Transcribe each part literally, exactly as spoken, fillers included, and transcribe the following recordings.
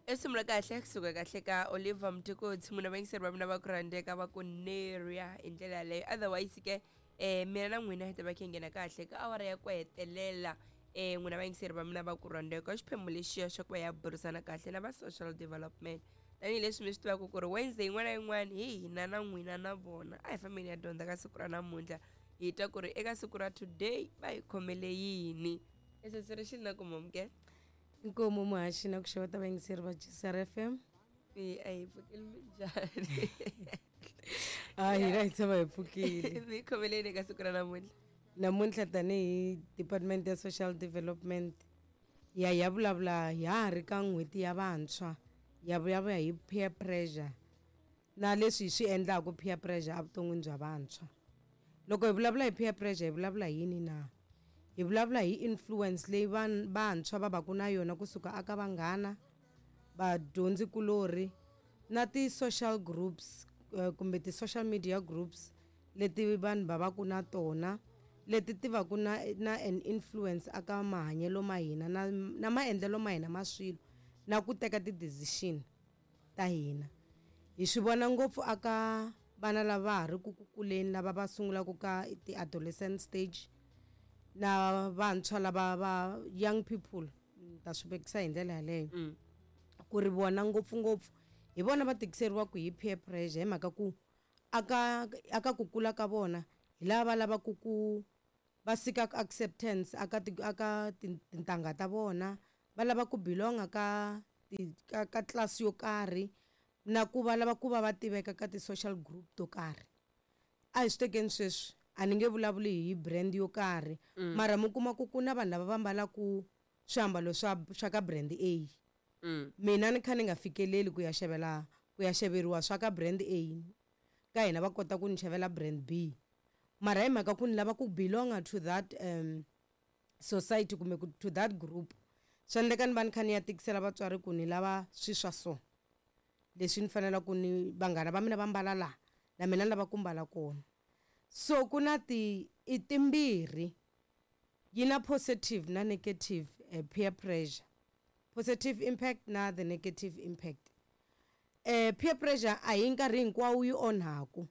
I risimu ra kahle kusuka kahle ka Oliver Mtukudzi, munhu vayingiseri va mina va ku rhandzeka va ku neria hi ndlela yaleyo. Otherwise ke eh mina na n'wina hi ta va khe nghena kahle ka awara ya ku hetelela. eh n'wina vayingiseri va mina va ku rhandzeka xiphemu lexiya xa ku va ya burisana kahle na va social development, tanihileswi mi swi tivaka ku ri Wednesday yin'wana na yin'wana hi hina na n'wina na vona a hi fambeni ya dyondza ka siku ra namuntlha, hi twa ku ri eka siku ra today va hi khomele yini. Eseseri xi na ku momke. Inkomu muhaxi na ku xeweta vayingiseri va G C R F M. E a hi pfukile minjhani? A hina hi tshama hi pfukile. Mi khomeleni eka siku ra namuntlha? Namuntlha tanihi Department ya Social Development ya ya vulavula ya ha ri ka n'hweti ya vantshwa, ya vulavula hi peer pressure na leswi hi swi endlaka peer pressure evuton'wini bya vantshwa. Loko hi vulavula hi peer pressure hi vulavula hi yini na? Hi vulavula hi influence leyi van-, vantshwa va vaku na yona kusuka aka vanghana, vadyondzikulorhi na ti-social groups, eh, kumbe ti-social media groups leti vanhu va vaku na tona, leti ti vaku na, na an influence aka mahanyelo ma hina na, na maendlelo ma hina ma swilo na ku teka ti-decision ta hina. Hi swi vona ngopfu aka vana lava ha ri ku kuleni, lava va sungulaka ka ti-adolescent stage na vantshwa lava va young people, ni ta swi vekisa hi ndlela yaleyo. Mm. Ku ri vona ngopfungopfu hi vona va tikiseriwaka hi peer pressure, hi mhaka ku aka, aka ku kula ka vona hi lava va lavaka ku va seeka acceptance aka ti, aka tin-, tintangha ta vona, va lava ku belonga ka ti, ka, ka class yo karhi na ku va lava ku va va tiveka ka ti-social group to karhi. A hi swi tekeni sweswi, a ni nge vulavuli hi brand yo karhi, Mm. mara mi kuma ku ku na vanhu lava va mbalaka swiambalo swa, swa ka brand A. Mm. Mina ni kha ni nga fikeleli ku ya xavela, ku ya xaveriwa swa ka brand A, ka hina va kota ku ni xavela brand B, mara hi mhaka ku ni lava ku belonga to that, um, society kumbe ku, to that group, swi endleka ni va ni kha ni ya tikisela vatswari ku ni lava swi swa so, leswi ni fanelaka ku ni vanghana va mina va mbala laha na mina ni lava ku mbala kona. So ku na ti, i timbirhi, yi na positive na negative, eh, peer pressure, positive impact na the negative impact. Eh, peer pressure a hi nkarhi hinkwawo yi onhaku,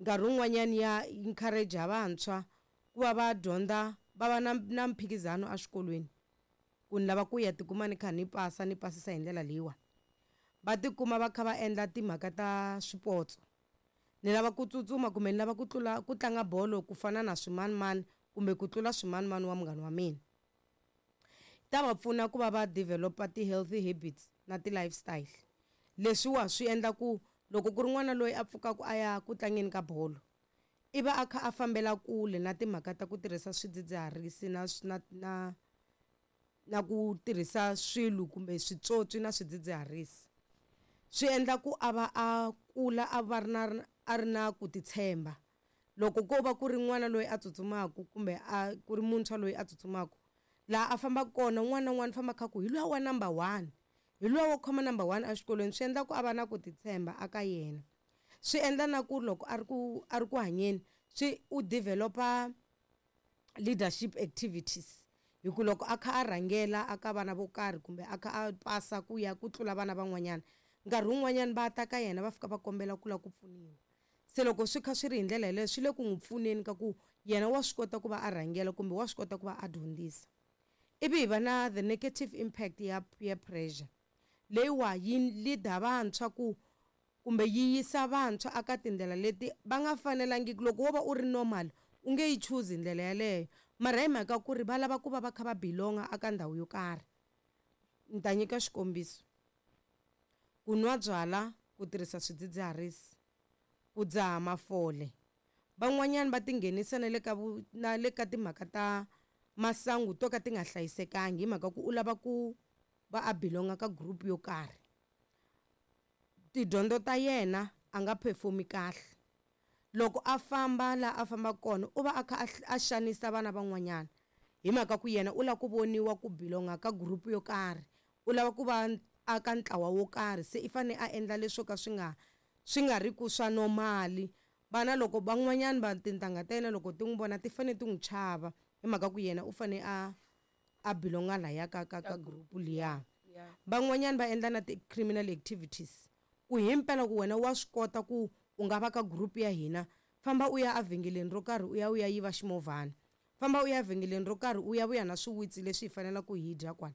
nkarhi wun'wanyani ya encourage vantshwa ku va va dyondza, va va na, na mphikizano exikolweni, ku ni lava ku ya tikuma ni kha ni pasa, ni pasisa hi ndlela leyiwa. Va tikuma va kha va endla timhaka ta swipotso, ni lava ku tsutsuma kumbe ni lava ku tlula ku tlanga bolo ku fana na swimanimani kumbe ku tlula swimanimani wa munghana wa mina. Ta va pfuna ku va va developa ti-healthy habits na ti-lifestyle. Leswiwa swi endla ku loko ku ri n'wana loyi a pfukaka a ya ku tlangeni ka bolo, i va a kha a fambela kule na timhaka ta ku tirhisa swidzidziharisi na swi-, na, na, na ku tirhisa swilo kumbe switswotswi na swidzidziharisi. Swi endla ku a va a kula a va ri na, a ri na ku titshemba. Loko ko va ku ri n'wana loyi a tsutsumaka kumbe a ku ri muntshwa loyi a tsutsumaka, laha a fambaka kona un'wana na un'wana u famba kha ku hi luya wa number one, hi luya wo khoma number one exikolweni, swi endla ku a va na ku titshemba aka yena. Swi endla na ku loko a ri ku, a ri ku hanyeni, swi u developa leadership activities, hi ku loko a kha a rhangela aka vana vo karhi kumbe a kha a pasa ku ya ku tlula vana van'wanyana, nkarhi wun'wanyana va ta ka yena va fika va kombela ku lava ku pfuniwa. Se loko swi kha swi ri hi ndlela yeleyo, swi le ku n'wi pfuneni ka ku yena wa swi kota ku va a rhangela kumbe wa swi kota ku va a dyondzisa. Ivi hi va na the negative impact ya peer pressure, leyiwa yi lead-a vantshwa ku kumbe yi yisa vantshwa aka tindlela leti va nga fanelangiki. Loko wo va u ri normal u nge yi choose ndlela yeleyo, mara hi mhaka ku ri va lava ku va va kha va belonga aka ndhawu yo karhi. Ni ta nyika xikombiso, ku nwa byala, ku tirhisa swidzidziharisi, ku dzaha mafole. Van'wanyani va tinghenisa na le ka vu-, na le ka timhaka ta masangu to ka ti nga hlayisekangi, hi mhaka ku u lava ku va a belonga ka group yo karhi. Tidyondzo ta yena a nga perform-i kahle. Loko a famba laha a fambaka kona, u va a kha a hl-, a xanisa vana van'wanyana, hi mhaka ku yena u lava ku voniwa ku belonga ka group yo karhi, u lava ku va a ka ntlawa wo karhi, se i fanele a endla leswo ka swi nga, swi nga ri ku swa normal. Vana loko van'wanyana va tintangha ta yena loko ti n'wi vona ti fanele ti n'wi chava, hi mhaka ku yena u fanele a, a belonga lahaya ka, ka, ka group liya. Yeah. Van'wanyani va endla na ti-criminal activities ku himpela ku wena wa swi kota ku u nga va ka group ya hina, famba u ya evhengeleni ro karhi u ya u ya yiva ximovhana, famba u ya evhengeleni ro karhi u ya vuya na swiwitsi leswi hi fanelaka hi dya kwala.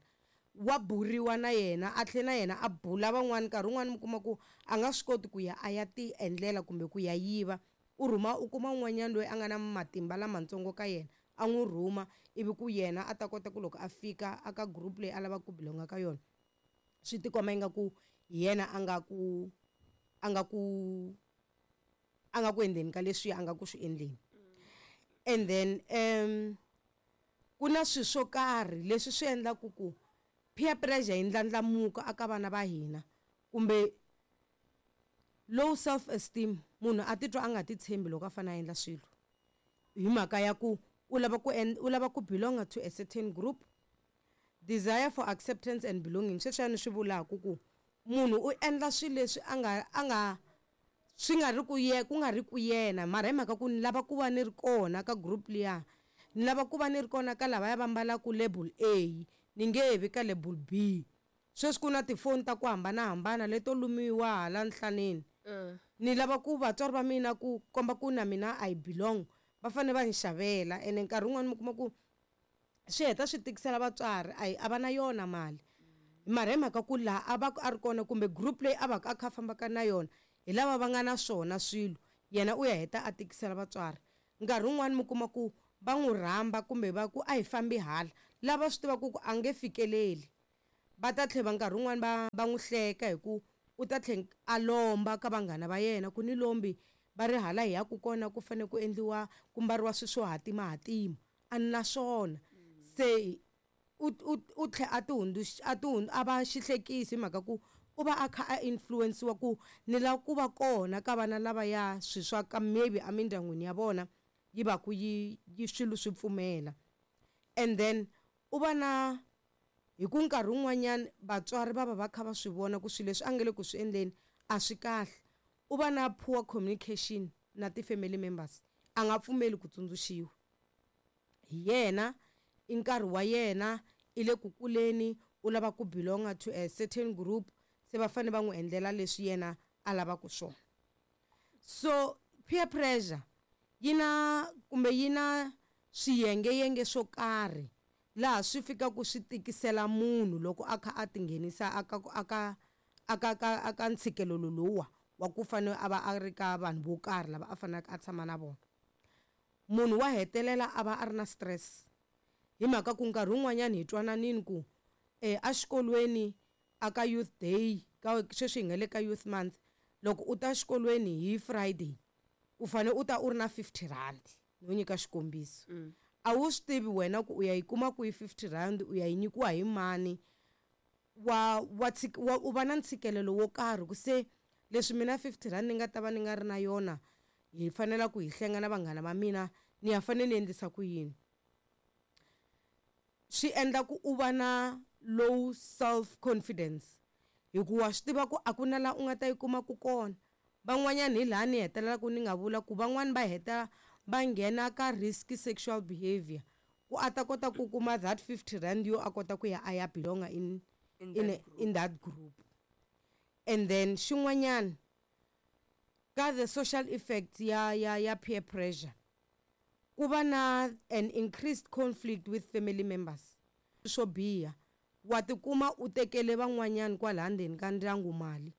Wa buriwa na yena, a tlhela na yena a bula van'wani. Nkarhi wun'wani mi kuma ku a nga swi koti ku ya a ya ti endlela kumbe ku ya yiva, u rhuma u kuma un'wanyana loyi a nga na matimba lamatsongo ka yena, a n'wi rhuma, ivi ku yena a ta kota ku loko a fika aka group leyi a lavaka ku belonga ka yona, swi tikomba ingaku hi yena a nga ku a nga ku a nga ku endleni ka leswi a nga ku swi endleni. And then um ku na swilo swo karhi leswi swi endlaku ku peer pressure yi ndlandlamuka aka vana va hina, kumbe low self esteem, munhu a titwa a nga ti tshembi loko a fanele a endla swilo hi mhaka ya ku u lava ku u lava ku belong to a certain group. Desire for acceptance and belonging, sweswiya ni swi vulaka ku munhu u endla swilo leswi a nga a nga swi nga ri ku ye ku nga ri ku yena, mara hi mhaka ku ni lava ku va ni ri kona ka group liya, ni lava ku va ni ri kona ka lavaya va ambalaka label A, ni nge vi ka label B. Sweswi ku na tifoni ta ku hambanahambana leto lumiwa hala nhlaneni, ni lava ku vatswari va mina ku komba ku na mina I belong, va fanele va ni xavela. Ene nkarhi wun'wani mi kuma ku swi heta swi tikisela vatswari, a a va na yona mali, mara hi mhaka ku laha a va a ri kona kumbe group leyi a va ka a kha a fambaka na yona hi lava va nga na swona swilo, yena u ya heta a tikisela vatswari. Nkarhi wun'wani mi kuma ku va n'wi rhamba kumbe va ku a hi fambi hala, lava swi tivaka ku a nge fikeleli, va ta tlhela nkarhi wun'wani va va n'wi hleka hi ku u ta tlhela a lomba ka vanghana va yena ku ni lombi va ri hala hi ya ku kona ku fanele ku endliwa ku mbariwa swilo swo hatimahatima, a ni na swona. Se u u u tlhela a ti hundzuxa a ti a va xihlekisi hi mhaka ku u va a kha a influence-iwa ku ni lava ku va kona ka vana lavaya swilo swa ka maybe emindyangwini ya vona yi va ku yi yi swilo swi pfumela. And then u va na hi ku nkarhi wun'wanyani vatswari va va va kha va swi vona ku swilo leswi a nga le ku swi endleni a swi kahle, u va na poor communication na ti-family members, a nga pfumeli ku tsundzuxiwa hi yena, i nkarhi wa yena i le ku kuleni, u lava ku belong to a certain group, se va fanele va n'wi endlela leswi yena a lavaka swona. So peer pressure yi na kumbe yi na swiyengeyenge swo karhi laha swi fikaka swi tikisela munhu loko a kha a tinghenisa aka aka aka ka aka ntshikelelo lowuwa wa ku fanele a va a ri ka vanhu vo karhi lava a faneleke a tshama na vona. Munhu wa hetelela a va a ri na stress hi mhaka ku nkarhi wun'wanyani hi twananini ku eh exikolweni aka youth day ka sweswi hi nga le ka youth month, loko u ta xikolweni hi Friday u fanele u ta u ri na fifty rand, no nyika xikombiso. A wu swi tivi wena ku u ya yi kuma kwihi fifty rand, u ya yi nyikiwa hi mani, wa wa wa u va na ntshikelelo wo karhi ku se leswi mina fifty rand ni nga ta va ni nga ri na yona, hi fanela ku hi hlenga na vanghana va mina, ni ya fanele ni endlisa ku yini. Swi endla ku u va na low self confidence hi ku wa swi tiva ku a ku na laha u nga ta yi kuma ku kona. Van'wanyana hi laha ni hetelelaka ni nga vula ku van'wani va heta va nghena ka risky sexual behavior ku a ta kota ku kuma that fifty rand yo a kota ku ya a ya belonga in, In in, that a, in that group. And then xin'wanyana ka the social effects ya ya ya peer pressure, ku va na an increased conflict with family members. Swo biha wa tikuma u tekele van'wanyana kwala ndzeni ka ndyangu mali,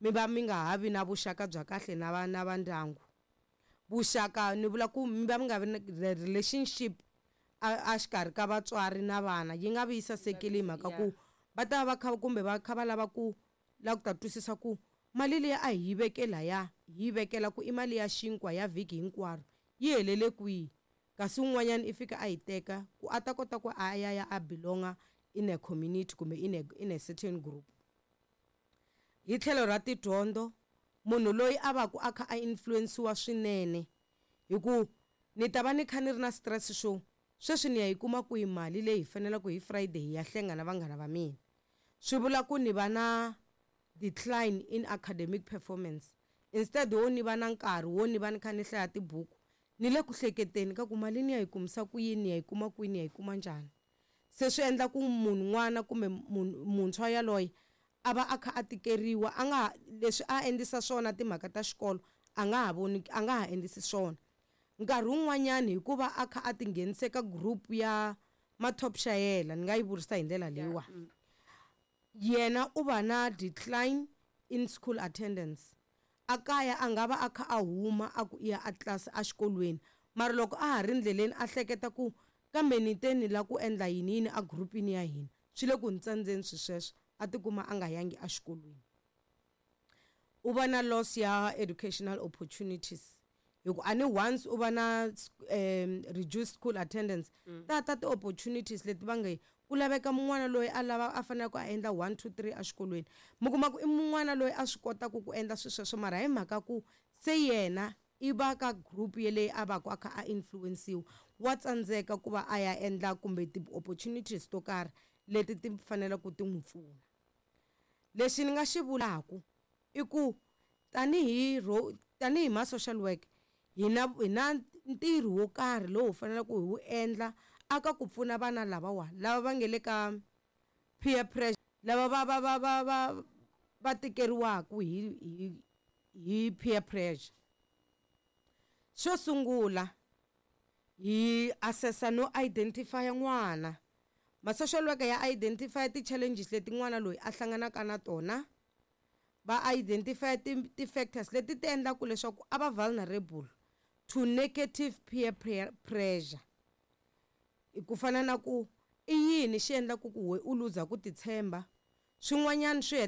mi va mi nga ha vi na vuxaka bya kahle na va na va ndyangu. Vuxaka ni vula ku mi va mi nga vi na the relationship a, a xikarhi ka vatswari na vana yi nga vi yi sasekile hi mhaka ku va ta va kha kumbe va kha va lava ku lava ku ta twisisa ku mali liya a hi yi veke laya, hi yi vekela ku i mali ya xinkwa ya vhiki hinkwaro, yi helele kwihi, kasi un'wanyana i fika a yi teka ku a ta kota ku a ya ya a belonga in a community kumbe in a, in a certain group. Hi tlhelo ra tidyondzo, munhu loyi a va ku a kha a influence-iwa swinene hi ku ni ta va ni kha ni ri na stress xo sweswi ni ya yi kuma kwihi mali leyi hi faneleke hi Friday hi ya hlenga na vanghana va mina, swi vula ku ni va na decline in academic performance. Instead wo ni va na nkarhi wo ni va ni kha ni hlaya tibuku, ni le ku hleketeni ka ku mali ni ya yi kumisa ku yini, ni ya yi kuma kwini, ni ya yi kuma njhani. Se swi endla ku munhu n'wana kumbe munhu muntshwa yaloye a va a kha a tikeriwa, a nga leswi a endlisa swona timhaka ta xikolo a nga ha voni, a nga ha endlisi swona. Nkarhi wun'wanyani hikuva a kha a tinghenise ka group ya ma-top xayela, ni nga yi vurisa hi ndlela leyiwa, yena u va na decline in school attendance. A kaya a nga va a kha a huma a ku i ya a tlilasi exikolweni, mara loko a ha ri ndleleni a hleketa ku kambe ni te ni la ku endla yini yini a group-ini ya hina, swi le ku ni tsandzeni swi sweswo, a tikuma a nga yangi exikolweni. U va na loss ya educational opportunities, hi ku a ni once u va na um reduced school attendance, ta ta ti-opportunities leti va nge ku laveka mun'wana loyi a lava a faneleke a endla one two three exikolweni, mi kuma ku i mun'wana loyi a swi kotaka ku endla swilo sweswo, mara hi mhaka ku se yena i va ka group yeleyi a va ku a kha a influence-iwa, wa tsandzeka ku va a ya endla kumbe ti-opportunities to karhi leti ti faneleke ti n'wi pfuna. Lexi ni nga xi vulaka i ku tanihi tanihi ma social work hi na hi na ntirho wo karhi lowu hi faneleke hi wu endla aka ku pfuna vana lavawa lava va nge le ka peer pressure, lava va va va va va va tikeriwaka hi hi hi peer pressure. Xo sungula hi assessa no identify n'wana. Ma social worker ya identify ti-challenges leti n'wana loyi a hlanganaka na tona, va identify ti-factors leti ti endlaka leswaku a va vulnerable to negative peer pressure. Ku fana na ku i yini xi endlaku ku we u luza ku titshemba, swin'wanyana swi